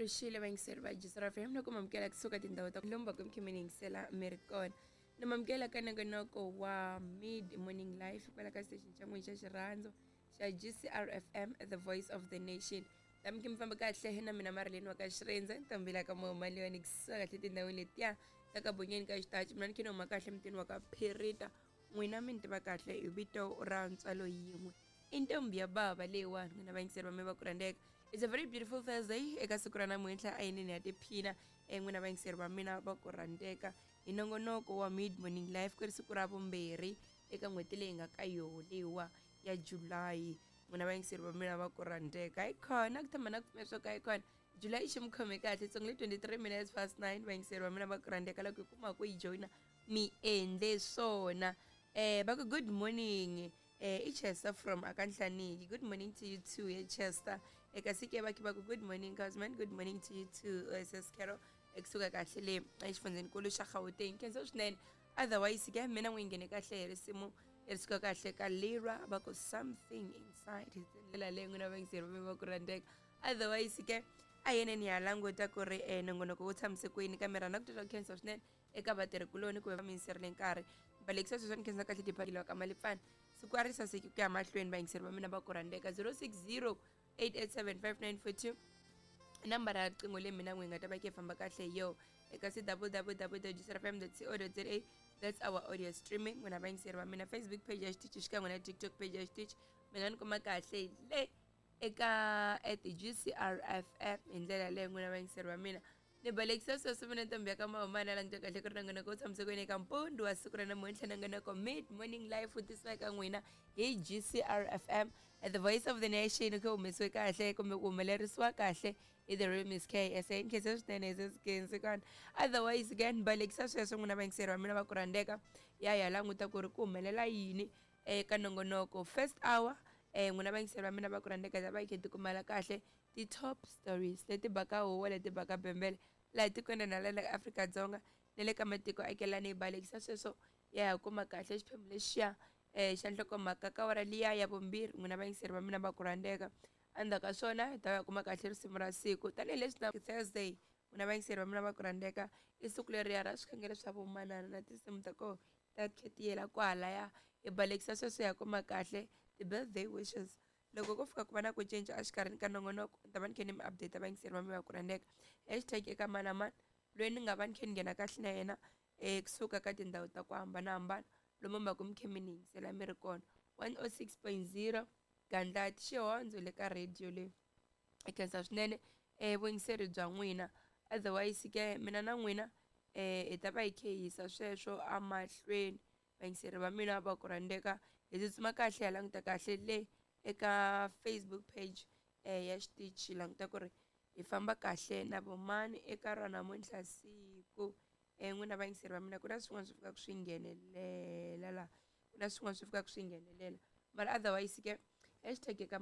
Rixile vayingiseri va Jisra FM na ku mamukela kusuka tindhawu ta lomba ku mi yingisela mi ri kona na mamukela ka nongonoko wa Mid Morning Life kwala ka station xa n'wina xa xirhandzo xa GCR FM, the voice of the nation. Tami ki mi famba kahle na mina Marileni wa ka Xirendze ntombila ka Momaliyoni kusuka kahle tindhawini letiya ta ka bonyeni ka xitachi. Mina ni khe ni huma kahle mutini wa ka Phirita, n'wina mi ni tiva kahle hi vito ra ntswalo yin'we i ntombi ya bava leyiwani. N'wina vayingiseri va mi va ku rhandzeka, it's a very beautiful Thursday eka siku ra namuntlha, a yinini ya tiphina n'wina vayingiseri va mina va ku rhandzeka hi nongonoko wa Mid Morning Life ku ri siku ra vumbirhi eka n'hweti leyi nga ka yoho leyiwa ya July. N'wina vayingiseri va mina va ku rhandzeka, hi khona ku tshama na ku pfumela swo ka hi khona July xi mi khome kahle tsongo le 23 minutes past 9. Vayingiseri va mina va ku rhandzeka, loko hi kuma ku yi joyina mi endle swona. Va ku good morning, i Chester from Akanhlaniki. Good morning to you too, Chester. Eka sike va va ku good morning Cosman, good morning to you too, ss Carol ekusuka kahle le exifundzhenikulu xa Gauteng. Khensa swinene. Otherwise ke mina n'wi nghene kahle hi risimu ri suka kahle ka Lira, va ku Something Inside, hi ndlela leyi n'wina vayingiseri va va ku rhandzeka. Otherwise ke a yeneni ya languta ku ri nongonoko wu tshamise kwini, kambe rhandza ku titwa ku khensa swinene eka vatirhikuloni ku va mi yingiserile nkarhi balekisa sweswo. Ni khensa kahle tiphakeliwa ka malipfana, siku a ri saseki ku ya mahlweni. Vayingiseri va mina va ku rhandzeka, 060 887 5942 nambara ya riqingho leyi mina n'wi nga ta va ke famba kahle hi yo eka c www gcrfm co za, that's our audio streaming. N'wina vayingiseri va mina, Facebook page ya xitichi xikan'we na TikTok page ya xitichi, mi nga ni kuma kahle le eka @GCRFM hi ndlela leyi. N'wina vayingiseri va mina, ni balekisa sweswo mina ntombi ya ka mahumana languta kahle ku ri nongonoko wu tshamise kwini eka mpundu wa siku ra namuntlha. Nongonoko Mid Morning Life wu tisiwa eka n'wina hi GCR FM, the voice of the nation, ku humesiwe kahle kumbe ku humelerisiwa kahle hi the real Miss K SA. Nkhensa swinene sesikhensi kona. Otherwise ke ni balekisa sweswo n'wina vayingiseri va mina va ku rhandzeka, ya languta ku ri ku humelela yini eka nongonoko first hour. N'wina vayingiseri va mina va ku rhandzeka, ta va yi khe tikumela kahle ti-top stories leti baka huwa, leti baka bembele laha tikweni na la Afrika-Dzonga na le ka matiko akelani. Hi balekisa sweswo ya ha kuma kahle xiphemu lexiya xa nhlokomhaka ka wara liya ya vumbirhi. N'wina vayingiseri va mina va ku rhandzeka, endzhaku ka swona hi ta ya kuma kahle risimu ra siku tanihileswi na Thursday. N'wina vayingiseri va mina va ku rhandzeka, i siku leriya ra swikhongelo swa vomanana na tinsimu ta koho ta khetiyela kwalaya. Hi balekisa sweswo ya kuma kahle ti-birthday wishes. Loko ko fika ku va na ku cinca exikarhini ka nongonoko, ni ta va ni kha ni mi update. Vayingiseri va mi va ku rhandzeka, #eka mani na mani loyi ni nga va ni kha ni nghena kahle na yena kusuka ka tindhawu ta ku hambanahambana lomu mi va ku mi kha mi ni yingisela mi ri kona, 106.0 Gandlati Xihondzo le ka radio leyi. Hi khensa swinene vuyingiseri bya n'wina. Otherwise ke mina na n'wina hi ta va hi khe hi yisa sweswo amahlweni. Vayingiseri va mina va ku rhandzeka, hi tsutsuma kahle ya languta kahle le eka Facebook page ya xitichi, languta ku ri hi famba kahle na vomani eka ra namuntlha siku. N'wina vayingiseri va mina, ku na swin'wana swi fikaka swi nghenelela laha, ku na swin'wana swi fikaka swi nghenelela, mara otherwise ke #eka